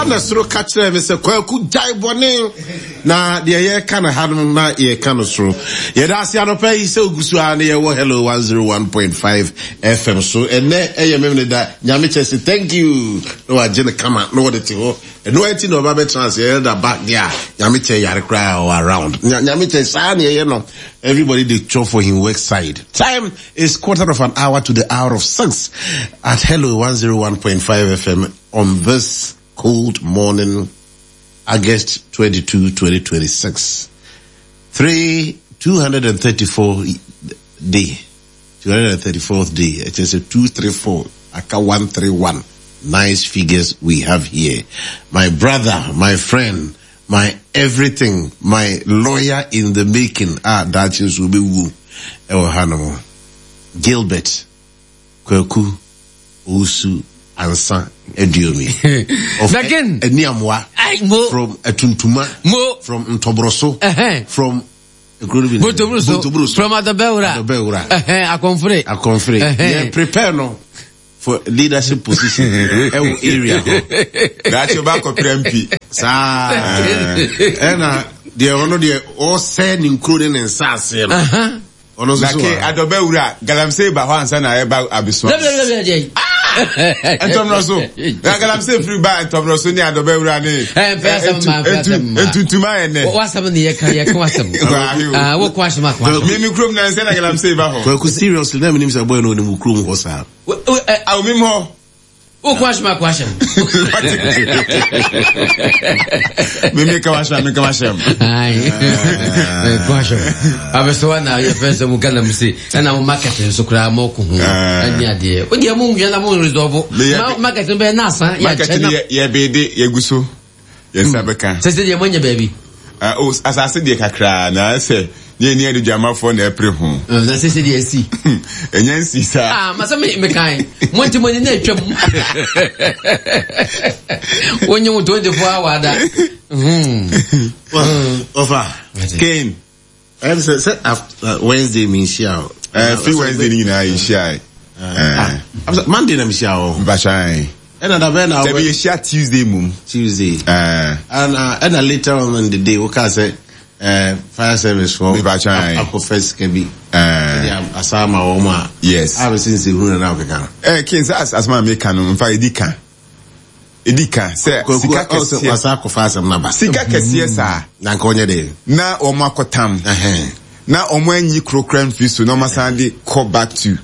Saa na soro ka kyerɛɛ me sɛ, Kwaku, gyae bɔne. Na deɛ yɛreka no ha no na yɛreka no soro. Yɛda ase anɔpa yi sɛ ogu so ara na yɛwɔ Hello 101.5 FM so. Ɛnɛ ɛyɛ memene da. Nyame kyɛ se thank you. Na wagye no kama na wɔde te hɔ. Ɛno akyi na ɔba bɛtena ase ɛyɛ da ba deɛ a Nyame kyɛ yare koraa ɔwɔ around. Nyame kyɛ saa na ɛyɛ no. Everybody dey chop for him work side. Time is quarter of an hour to the hour of 6 at Hello 101.5 FM on this cold morning, August 22, 2026. 3, 234 day. 234th day. It is a 234. Aka 131. Nice figures we have here. My brother, my friend, my everything, my lawyer in the making. Ah, daakye nso obewu ɛwɔ hanom. Gilbert Kwaku Owusu Ansa Aduomi of Aniamoa from Atuntuma from Ntɔboroso from Bontobroso from Adɔbɛwura Adɔbɛwura Akɔnfere Akɔnfere yɛ prepare no for leadership position ɛwɔ area hɔ. Daakye ɔba akɔpere MP. Saa ɛna deɛ ɔno deɛ ɔsɛ ne nkuro ne ne nsaase no. Ɔno nso so wa. Na ke adɔbɛ wura galamsey ba hɔ ansa na ɛba abesoa. Ntɔmmerɛ so. Na galamsey firi ba ntɔmmerɛ so ne adɔbɛ wura ne. Ntuntuma yɛ nɛ. Wasɛm ne yɛka yɛka wasɛm. Wokɔ ahyɛm akɔ ahyɛm. Mimi kurom na nsɛ na galamsey ba hɔ. Kwaku seriously na menim sɛ boy no onim wo kurom hɔ saa. Awo mim hɔ. Wokɔ ahyɛm akɔ ahyɛm. Mimi ka wahyɛm mi ka wahyɛm. Kɔ ahyɛm. Abɛsɛ na yɛfɛ sɛ mo galamsey ɛna mo market nso koraa mo ko ho ɛne adeɛ. O deɛ mo nwia na mo resolve. Market no bɛyɛ n'asa. Market no yɛ bede yɛ gu so. Yɛn nsa bɛka. Sɛ sɛ deɛ moanya baabi. Ah, oh, asase deɛ kakraa na sɛ ne ani adugyamafoɔ na ɛpere ho. Na sɛ sɛ deɛ asi. Ɛnyɛ nsi saa. Ah, masa me mekan. Mo nti mo ani na atwam. Wonye wo 24 hour da. Hmm. Ofa. Kane. Ɛm sɛ sɛ after Wednesday mi nhyia o. Ɛɛ fi Wednesday ni nyinaa yɛ nhyia yɛ. Ah, Monday na mi hyia o. Mpakyɛn. Ɛna da bɛn na. Dabi yɛ hyia Tuesday mum. Tuesday. Ɛɛ. Ɛna ɛna later on in the day o ka sɛ ɛɛ fire service fɔ. Mpakyɛn. Akɔ fɛ sika bi. Ɛɛ. Ɛde asa ama wɔn a. Yes. A bɛ si nsehunu na na ɔkeka. Ɛɛ kin sɛ asoma mi ka no nfa edi ka. Edi ka sɛ sika kɛseɛ. Wasa akɔfa asɛm no aba. Sika kɛseɛ saa. Na nka ɔnyɛ dɛ. Na wɔn akɔtam. Na wɔn anyi koro kora mfiri so na wɔn asan de kɔ back to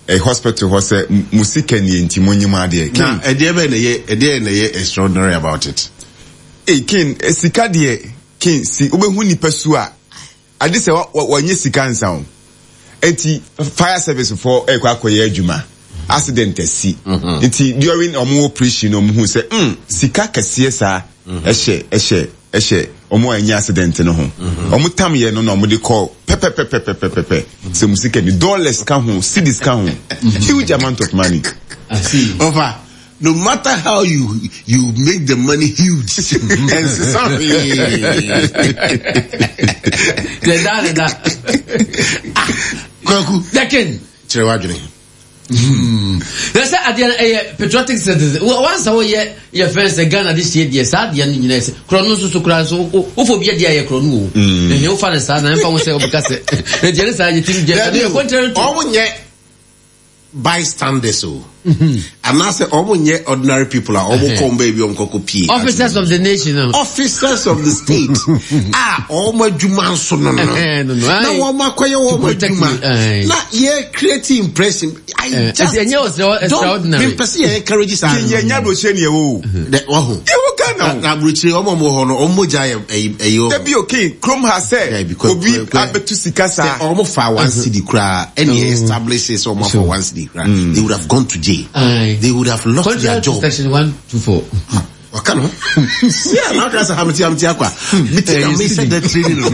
eh, hospital hɔ sɛ mo sika nie nti mo nyi mo adeɛ. Na ɛdeɛ bɛn na ɛyɛ ɛdeɛ na ɛyɛ extraordinary about it? Ee kin eh, sika deɛ kin si wobɛhu nipa su a Ade sɛ wɔnyɛ sika nsa o. Enti fire service foɔ ɛkɔ akɔyɛ adwuma. Accident asi. Mhm. Nti during ɔmo operation no ɔmo hu sɛ mm sika kɛseɛ saa mhm. ɛhyɛ ɛhyɛ ɛhyɛ ɔmo a ɛnyɛ accident no ho. Mhm. Ɔmo tam yɛ no na ɔmo de kɔ pɛpɛpɛpɛpɛpɛ sɛ mo sika ni dollars ka ho cedis ka ho huge amount of money. Ɔfa No matter how you you make the money huge, ɛnsesa hwee. Deda deda. Ah, Kwaku. Dakin. Kyerɛ w'adwene. Hmm. Na sɛ adeɛ no ɛyɛ patriotic citizen wansa woyɛ yɛ fɛn sɛ Ghana de sie deɛ saa adeɛ no nyinaa sɛ korɔ no nso so koraa nso wofɔ bi adeɛ ayɛ korɔ no o ɛhɛn wofa no saa na ɛmfa ho sɛ wobɛka sɛ ɛdeɛ no saa yɛ tim gyɛ ɛno yɛ contrary to ɔmo nyɛ bystanders o anaasɛ wɔn nyɛ ordinary people a wɔn kɔn baabi wɔn kɔkɔ pie. Officers of the nation. Officers of the state a wɔn adwuma nso no no na wɔn akɔyɛ wɔn adwuma na yɛ create impression. I just don't mepɛ sɛ yɛ encourage saa. Yɛ nya aburokyire ni ɛwɔ o. Dɛ ɔho. Yɛ wɔ Ghana o. Na aburokyire wɔn a wɔn wɔ hɔ no wɔn mogya yɛ ɛyi ɛyi wɔ. Dabi o king kurom ha sɛ obi abɛtu sika saa. Sɛ wɔn fa one cedi koraa ɛna yɛ establish sɛ wɔn afa one cedi koraa they would have gone to jail. They would have lost their job. Section 124. Waka no. Si a na ɔka sɛ hamti hamti akwa. Meti na mi sɛ dɛ training no.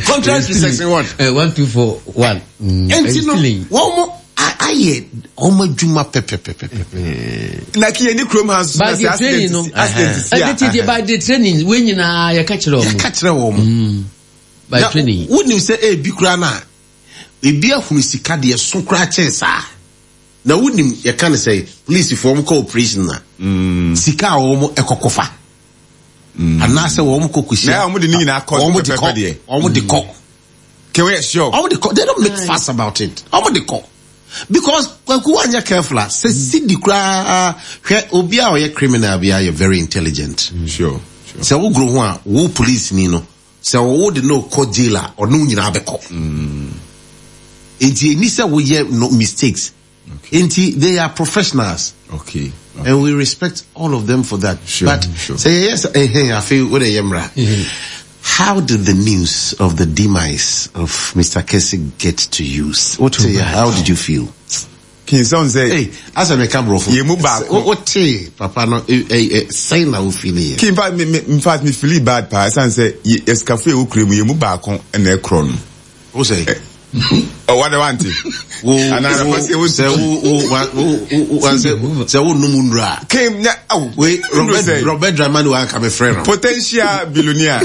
Contrary to section what? 1241. Ɛnti no wɔn mo ayɛ wɔn adwuma pɛpɛpɛpɛpɛ. Na kí yɛn ni kurom ha nso na sɛ accident si accident si a. Ɛdi ti di by the training wei nyinaa yɛ ka kyerɛ wɔn. Yɛ ka kyerɛ wɔn. By training. Wonim sɛ ebi koraa na ebi ahunu sika deɛ so koraa kyɛn saa. Na wonim yɛ ka ne sɛ polisifoɔ wɔn kɔ operation na sika a wɔn ɛkɔkɔfa. Anaasɛ wɔn kɔ kɔhyia. Na wɔn de ne nyinaa kɔ wɔn de kɔ wɔn de kɔ. Kɛ wɔyɛ sure. Wɔn de kɔ they don't make fuss about it wɔn de kɔ because kwaku wanyɛ careful a sɛ sidi koraa hwɛ obi a ɔyɛ criminal bi ayɛ very intelligent. Sure. Sɛ wogoro ho a wo police ni no sɛ wo de no kɔ jail a ɔne wo nyinaa bɛkɔ. Nti ɛni sɛ woyɛ no mistakes. Okay. Nti they are professionals. Okay. okay. And we respect all of them for that. Sure, but sure. say yes, eh, I feel what a How did the news of the demise of Mr. Kessie get to you? What how did you feel? King Son say, Hey, as a meka brofo. Ye mu baako. What papa no eh eh say na wo feel here. King, in fact, me, me, in fact, me feel bad pa. San say, ye eskafo e wo kure mu ye mu baako na e kro no. Wo say? Oh, what do want? Wo wo sɛ wo wo wo wo sɛ sɛ wo num nura. King na oh. Wei Robert Robert Dramani wa nka me frɛ no. Potential billionaire.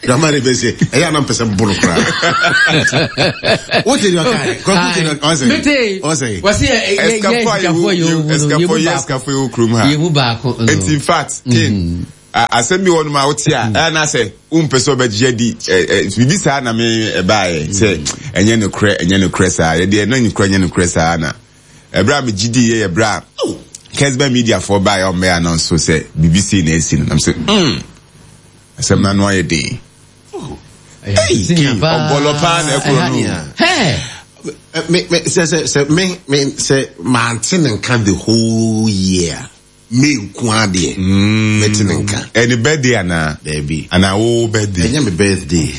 Dramani bɛ se ɛyɛ anam pɛ sɛ bolo koraa. Wo te deɛ ɔka yɛ kɔkɔ te deɛ ɔsɛ. Mete. Ɔsɛ. Wɔsi yɛ yɛ yɛ sikafo yɛ wo Eskafo yɛ eskafo yɛ wo kurom ha. Yɛ mu baako. Eti in fact King. Asɛm bi wɔ nom a wote a ɛyɛ na sɛ wompɛ sɛ ɔbɛgye adi biribi saa na me ɛbaeɛ sɛ ɛnyɛ nokorɛ ɛnyɛ nokorɛ saa yɛdeɛ na nokorɛ ɛnyɛ nokorɛ saa na ɛberɛ a megye di yɛ yɛ berɛ a Kesben Media foɔ baeɛ ɔmmɛyɛ announce so sɛ biribi sei na asi no nam sɛ mm asɛm no ano ayɛ den ɔbɔlɔ paa na ɛkorɔ no me me sɛ sɛ sɛ me me sɛ mante ne nka the whole year May nko ara deɛ mɛte ne nka. Ɛyɛ ne birthday anaa? Daabi. Anaa wo birthday? Ɛnyɛ me birthday.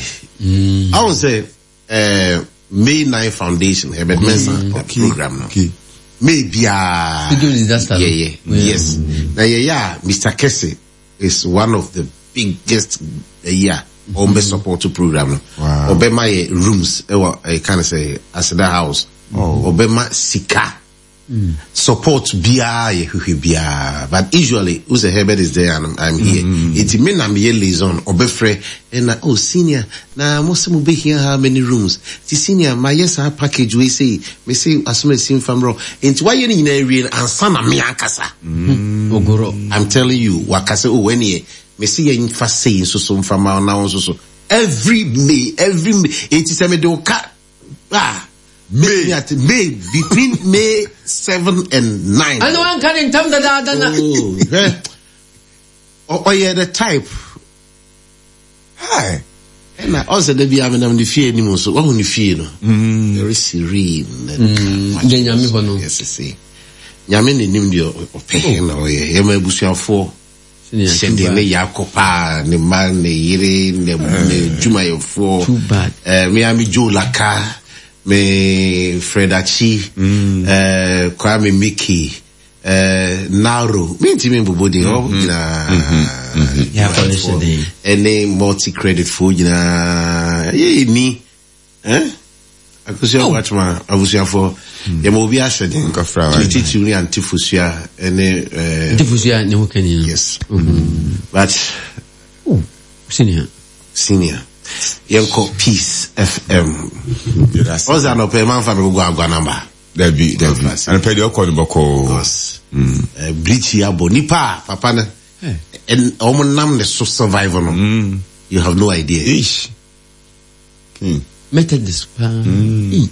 Ahu sɛ eh, May 9 Foundation, Herbert Mensah program no. Okay. May biara yɛyɛ. Yes. Na yɛyɛ a Mr. Kese is one of the biggest ɛyi a wɔn bɛ support program no. Wow. Ɔbɛma yɛ rooms ɛwɔ ɛka ne sɛ Aseda House. Ɔbɛma sika. Support biaa yɛ hwehwɛ biaa but usually wo sɛ Herbert is there and I'm here nti me na meyɛ liaison ɔbɛfrɛ ɛna oh senior na mo se mo bɛhia how many rooms nti senior mayɛ saa package wei sei me se asomasi mfa mmerɛ nti wayɛ ne nyinaa awie no ansa na me ankasa Ogoro. I'm telling you waka sɛ oh ɛneɛ me se yɛmfa sei nso so mfa ma na wo nso so every May every May nti sɛ mede wo ka ah May. May between May 7 and 9. Ɛna wanka ne ntam dadaada na. Oh, hwɛ. Ɔyɛ the type. Hi. Ɛna ɔsɛ da bi a menam ne fie anim nso wahu ne fie no. Very serene. Deɛ nyame hɔ no. Yes, see. Nyame na nim deɛ ɔpɛ na ɔyɛ. Yɛma abusuafoɔ. Sɛdeɛ ne ya kɔ paa, ne mma, ne yere, ne ne dwumayɛfoɔ. Too bad. Me a me Joe Laka, me Fred Achi, Kwame Mickey, Naro, me ntumi mbobɔ din, wɔn nyinaa. Yeah, for the dwumayɛfoɔ, ɛne multi credit foɔ nyinaa. Yɛ ni. Eh? Akosua oh. Watchman, abusuafoɔ, yɛma obi ahyɛ den. Nkɔfra Ne titiriw ne Ante Fosua ne eh, Ante Fosua ne ho kani no. Yes. But Oh, senior. Senior. Yɛnkɔ Peace FM. Ɔsɛ anɔpɛ manfa me gogo agwa namba. Dabi, dabi. Anɔpɛ deɛ ɔkɔ no bɔkɔɔ. Because Brikyi abɔ nipa a papa no wɔn nam ne so survive no. You have no idea. Ish. Methodist paa.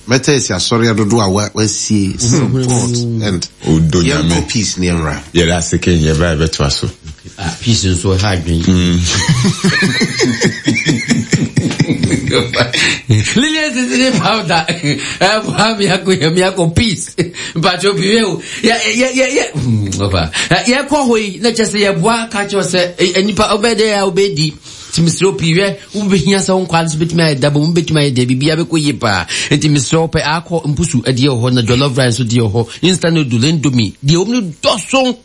Methodist asɔre adodo a wasie support and Odo yɛnkɔ nyame. peace ne yɛmmra. Yɛda ase ken yɛba yɛbɛtoa so. Ah, peace nso ɛha adwene. Lilian sisiri powder. Ɛboa mi akɔ yɛ mi akɔ peace. Mpatsɔ bi yɛ o. Yɛ yɛ yɛ yɛ. Ɔfa. Yɛkɔ hɔ yi na kyɛ sɛ yɛboa ka kyerɛ sɛ nipa ɔbɛ dɛ a ɔbɛ di. Nti mesrɛ wo pii hwɛ, wobɛhia sɛ wo nkwaa no so bɛtumi ayɛ daba mu, bɛtumi ayɛ deɛ biribiara bɛkɔ yie paa. Nti mesrɛ wo pɛ akɔ mpusu deɛ wɔ hɔ na jollof rice nso deɛ wɔ hɔ, instant noodle, indomie, deɛ wɔm no dɔso.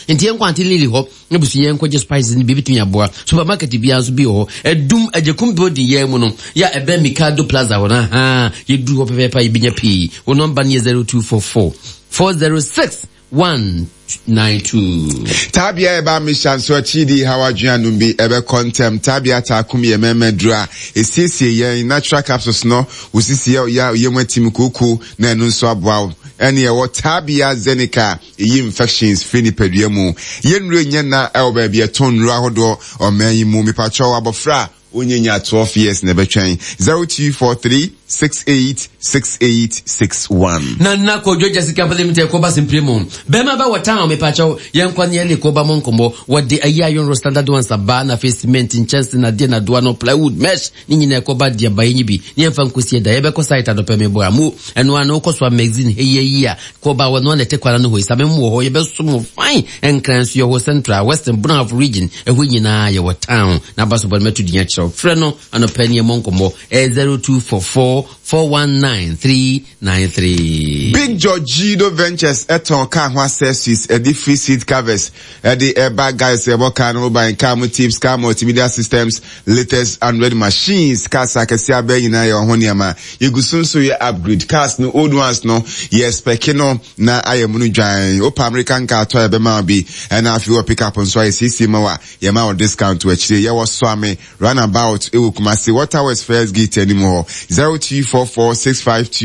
Nti yɛnkɔ Auntie Lily hɔ na busua yɛnkɔgye spices no bi bɛtumi aboa. Supermarket biara nso bi wɔ hɔ. Adum Agyekum building yɛn mu no, yɛ a ɛbɛn Mikado Plaza hɔ no, ahaa, yɛduru hɔ pɛpɛɛpɛ a yɛbɛnya pii. Wo nɔmba no yɛ 0244 406 192. Tabea ɛba mehyɛ nso akyidi haw adwene anom bi ɛbɛkɔ ntɛm. Tabea taakum yɛ mɛmɛ duro a esiesie yɛn natural capsules no wo sisi yɛ ɔya ɔyɛ mu atim kooko na ɛno nso aboa wo. Ɛne ɛwɔ Tabia Zenica ɛyi infections firi nipadua mu. Yɛn nnuro nyɛ na ɛwɔ baabi ɛtɔn nnuro ahodoɔ ɔman yi mu. Mepakyɛw abɔfra a ɔnyɛ nya 12 years na ɛbɛtwɛn 0243 68 68 61. Nana Kojo Jessica Limited kɔba simpire mu. Bɛrima bɛ wɔ town mepakyɛw yɛnkɔ ne yɛne kɔba mo nkɔmmɔ. Wɔde ayi iron rod standard ones aba na afei cement nkyɛnse na adeɛ na doa no plywood mesh ne nyinaa ɛkɔba deɛ ba yɛnyi bi ne yɛmfa nkɔsi ɛda yɛbɛkɔ site anɔpɛ mebɔ amu ɛno ano wokɔ so a magazine hei ayi a kɔba wɔ no ana ɛte kwana no hɔ yi same mu wɔ hɔ yɛbɛso mo fine nkran nso yɛwɔ central western brunaf region ɛhɔ nyinaa yɛwɔ town na aba so bɔ no mɛto din akyerɛw frɛ no anɔpɛ ne yɛmmɔ nkɔmmɔ ɛyɛ 0244 419 393. Big Georgido Ventures ɛtɔn car ho accessories ɛde free seat covers ɛde ɛba guys ɛbɔ car no ho ban car mu tips car multimedia systems latest android machines cars akɛse abɛn nyinaa yɛ ɔho nneɛma yɛgu so nso yɛ upgrade cars no old ones no yɛ spɛke no na ayɛ mu no dwan wopɛ American car tɔ a yɛbɛma bi ɛna afei wɔ pickup nso ayɛ siesie ma wa yɛma wɔ discount wɔ akyire yɛwɔ Soame Runabout wɔ Kumasi Waterworks first gate anim hɔ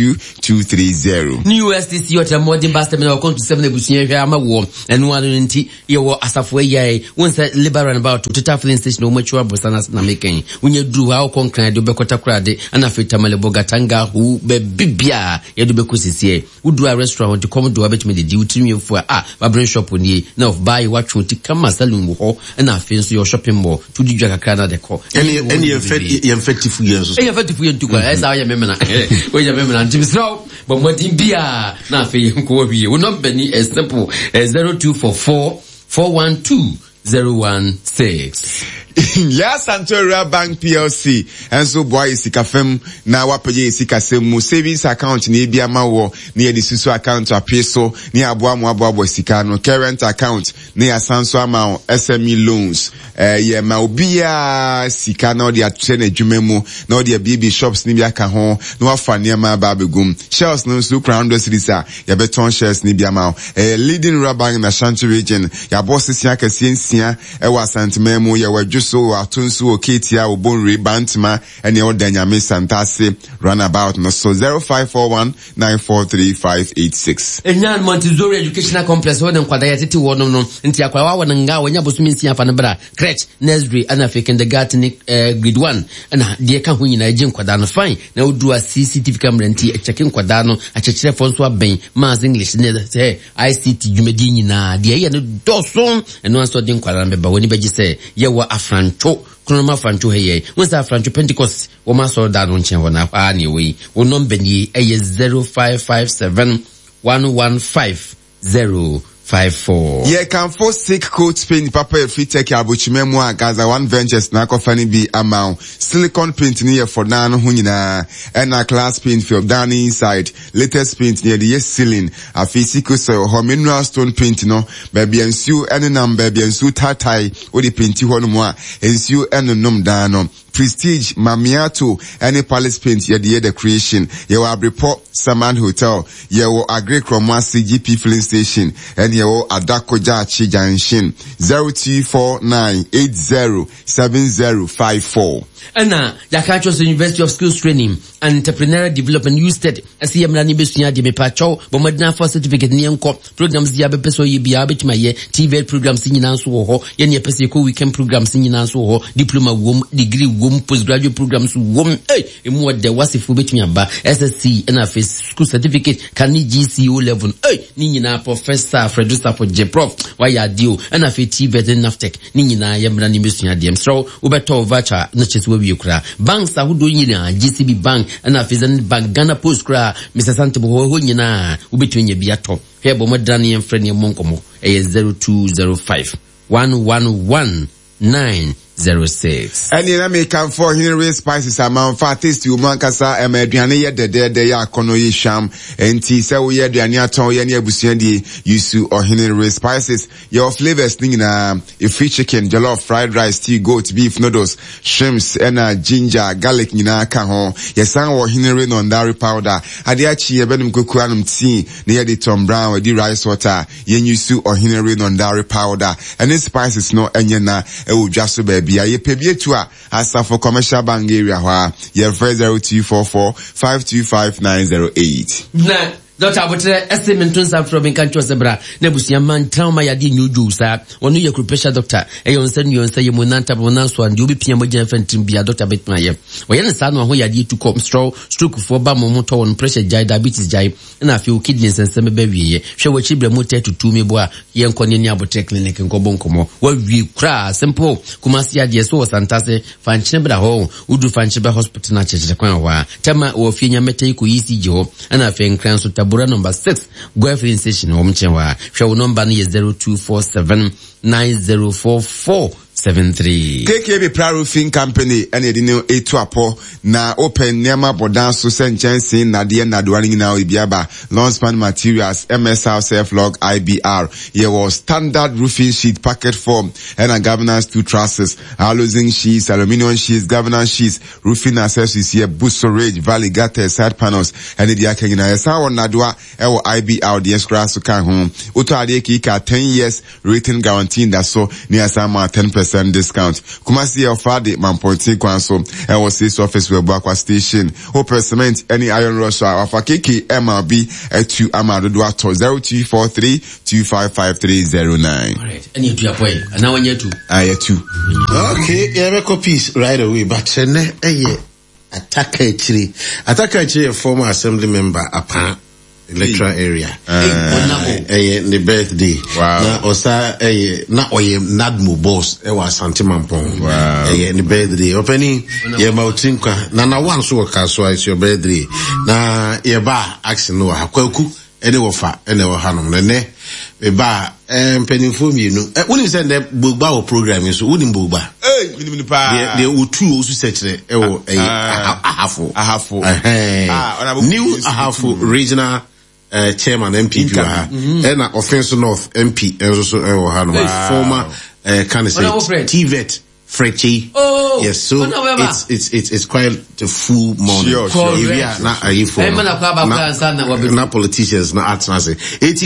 0244652230. New STC ɔkyerɛ mmɔden bus terminal ɔkɔnto sɛm na abusua hwɛ ama woɔ ɛno ano no nti yɛwɔ asafo ayiae wo nsɛ labour runabout total filling station wɔn akyi aborosan ase na mekɛn wonya duru hɔ a wokɔ nkran de wobɛkɔ takorade ɛna afei tamale bogatanga hu baabi biaa yɛde wobɛkɔ sisiɛ Wodu a restaurant hɔ nti kɔm de wo a bɛtumi adidi, wo tirinwi afu a ah barbering shop nie na of baa yi woatwe wo ti kama saloon wɔ hɔ ɛna afei nso yɛwɔ shopping mall nti wodi dwa kakra na de kɔ. Ɛne ɛne yɛmfɛ yɛmfɛ tifu yɛn nso so. Yɛmfɛ tifu yɛn ntu kwan ɛsɛ woyɛ memena woyɛ memena nti mesrɛ wo bɔ mmɔden biara na afei yɛnkɔ awie wo nɔmba ni ɛ simple ɛ 0244 412 016. Yɛn Asante Rural Bank PLC nso boa yɛ sika fam na wapagya yɛ sikasɛm mu. Savings account na ebi ama wɔ na yɛde susu account apee so na yɛaboa mo aboaboa sika ano. Current account na yɛasan so ama wo SME loans. Eh, yɛma obiara sika na ɔde atrɛ n'adwuma mu na ɔde abiebie shops no bi aka ho na wafa nneɛma aba abɛgum. Shells no nso wokura 100 cedis a yɛbɛtɔn shares no bi ama wo. Ɛyɛ leading rural bank in Ashanti region. Yɛabɔ sese akɛseɛ nsia wɔ Asanteman mu. Yɛwɔ Adwoso, wɔ Atonsu, wɔ Ketia, wɔ Bonwire, Bantama, ɛne ɛwɔ Danyame, Santase runabout no so. 0541 943 586. Enyan Montessori Educational Complex hɔ na nkwadaa yɛtete wɔnom no nti akwadaa wawo no nga a wanya bosome nsia fa no bra crèche, nursery ɛna afei kindergarten ne eh, grade one ɛna deɛ ɛka ho nyinaa ɛgye nkwadaa no fine na woduru a CCTV camera nti ɛkyɛke nkwadaa no akyerɛkyerɛfoɔ nso abɛn maths English ne sɛ ICT dwumadie nyinaa deɛ ɛyɛ no dɔso ɛno anso ɔde nkwadaa no bɛba w'ani bɛgye sɛ yɛwɔ afrantwo kronom afrantwo ha yɛ wɔn sɛ afrantwo Pentecost wɔn asɔre da no nkyɛn hɔ na hɔ a na ɛwɔ yi wɔn nɔmba nie ɛyɛ 0557 115 054. Yɛkamfo Sick Coat Paint papa ɛfiri Turkey abokyima mu a Gaza One Ventures na akɔfa no bi ama wo. Silicon paint no yɛ for dan no ho nyinaa, ɛna glass paint for dan no inside. Latest paint no yɛde yɛ ceiling. Afei Sikosoil wɔ hɔ, mineral stone paint no, baabi a nsuo nenam, baabi a nsuo taatae, wode painti hɔ nom a, nsuo nnonom dan no. Prestige, Mamiato ne Palace Paint yɛde yɛ decoration. Yɛwɔ Abrepɔ, Saman Hotel, yɛwɔ Aggrey Krɔmoase GP Filling Station ɛne yɛwɔ Adako Jachie Junction. 0249807054. Ɛna yɛaka akyerɛ sɛ University of Skills Training and Entrepreneurial Development, USTED, ɛsɛ yɛ mmra ne bɛsua adeɛ. Mepakyɛw, bɔ mmɔden afa certificate ne yɛnkɔ. Programs deɛ abɛpɛ sɛ ɔyɛ biara bɛtumi ayɛ. TVET programs nyinaa nso wɔ hɔ. Yɛne yɛpɛ sɛ yɛkɔ weekend programs nyinaa nso wɔ hɔ. Diploma wom, degree wom, postgraduate programs wom. Ei, emu ɔdɛ, wasefoɔ bɛtumi aba. SSC ɛna afei school certificate, ka ne GCE O level. Ei, ne nyinaa Professor Frederick Safo gye prof, wayɛ adeɛ o. Ɛna afei TVET ne NAFTEC ne nyinaa yɛmmra ne bɛsua adeɛ. Mesrɛ wo, wobɛtɔ wo voucher na kyerɛ sɛ wawie koraa. Banks ahodoɔ nyinaa, GCB Bank, ɛna afei Zenith Bank, Ghana Post koraa, Mr. Santebo hɔ, ɛhɔ nyinaa wobɛtumi anya bi atɔ. Hwɛ, bɔ mmɔdena ne yɛmfrɛ ne yɛmmɔ nkɔmmɔ. Ɛyɛ 0205 111 906. Ɛneɛ na mekamfo Ɔhene Ray Spices ama wo. Fa taste wɔ mu ankasa, ɛma aduane yɛ dɛdɛɛdɛ, yɛ akɔnnɔ, yɛ hwam. Enti sɛ woyɛ aduane atɔn, yɛ ne abusua die, use Ɔhene Ray Spices. Yɛwɔ flavours no nyinaa, ɛfiri chicken, jollof, fried rice, stew, goat, beef, noodles, shrimps ɛna ginger, garlic nyinaa ka ho. Yɛsan wɔ Henry Nondari powder. Adeɛ akye yɛbɛnom koko anom tea na yɛde Tom Brown adi rice water. Yɛn use Ɔhenere Nondari powder ɛne spices no ɛnyɛ na ɛwɔ dwa so baabiara. Yɛpɛ bi atu a, Asafo Commercial Bank area hɔ a. Yɛfrɛ 0244 525 908. Na. Dɔkta Aboterɛ ɛse mento nsa mfrɛ wo menka nkyerɛ wo sɛ bra na abusua mma ntena wo ma yadeɛ nyɛ odwoo saa. Ɔno yɛ acupressure dɔkta, ɛyɛ wo nsa nua, wo nsa yam, wo nan ntam, wo nan so a, deɛ wobɛpia mogya mfa ntirim biara dɔkta bɛtumi ayɛ. Ɔyɛ no saa na waho yadeɛ tu kɔ. Mesrɛ wo, stroke foɔ ba ma wɔn ho tɔ wɔn, pressure gyae, diabetes gyae, ɛna afei wo kidney nsɛnsɛm bɛba awieɛ. Hwɛ w'akyi brɛ mu tɛ tutu me bo a, yɛnkɔ ne ne Aboterɛ clinic nkɔbɔ nkɔmmɔ. Wawie koraa, simple. Kumasi adeɛ so wɔ Santase, fa nkyene bra hɔ. Wodu Fankyereba Hospital no akyerɛkyerɛ kwan wɔ hɔ a, Tema wɔ fie Nyamɛtɛ yi kɔ ECG hɔ, ɛna afei Nkran nso Tabora number 6 Goil filling station wɔn nkyɛn hɔ a. Hwɛ wo nɔmba no yɛ 0247 9044 73. KKB Pra Roofing Company ɛna yɛde no etu apɔ na wopɛ nneɛma bɔ dan so sɛ nkyɛnsee, nnadeɛ, nnadewa no nyinaa ebi aba. Long span materials, MSR Self-Log IBR, yɛwɔ standard roofing sheet, packet form, ɛna governance two trusses. Aluzinc sheets, aluminium sheets, governance sheets, roofing accessories, yɛ Buso ridge, valley gutters, side panels, ɛne deɛ aka nyinaa. Yɛsan wɔ nnadewa ɛwɔ IBR deɛ koraa so ka ho. Wotɔ adeɛ kiika 10 years rating guarantee da so ne yɛasan ma 10% discount. Kumasi yɛ ɔfa de Mampɔnten kwan so ɛwɔ sales office wɔ Abuakwa station. Wopɛ cement ɛne iron rods a wafa KK ɛma obi atu ama dodoɔ atɔ 0243 255309. Alright, ɛne atu apɔ yi, anaa wanya atu? Ah, yɛtu. Okay, yɛbɛkɔ peace right away, but ɛnɛ ɛyɛ Ataka akyire. Ataka akyire yɛ former assembly member Apaa electoral area. Ɛyɛ ne birthday. Wow. Na ɔsa ɛyɛ na ɔyɛ NADMO boss ɛwɔ Asante Mampɔn. Wow. Ɛyɛ ne birthday. Ɔpɛni yɛ ma otiri nkwa. Na na wa nso wɔ Kasoa it's your birthday. Na yɛ ba action no wɔ ha. Kwaku ɛne wɔfa ɛna ɛwɔ hanom no ɛnɛ meba a ɛɛ mpanimfoɔ mmienu ɛ wonim sɛ nnɛ bogba wɔ program yi so wonim bogba Ee, menim no paa. deɛ deɛ otu osu sɛkyerɛ ɛwɔ ɛyɛ Ah. ahafo Ahafo. ɛhɛn Ah, ɔna abɔ new nsu ahafo tu. regional uh, chairman MPP wɔ ha ɛna Offinso North MP nso so ɛwɔ ha no former uh, kan Ɔna sɛ wo Fred. TVET Fred Oh, yes so ɔna wɛba. it's it's it's it's quite a full morning Sure, sure. Ebi a na ayifo Ɛma na kɔ aba koraa ansa na wabɛdu. na politicians na atena ase eti.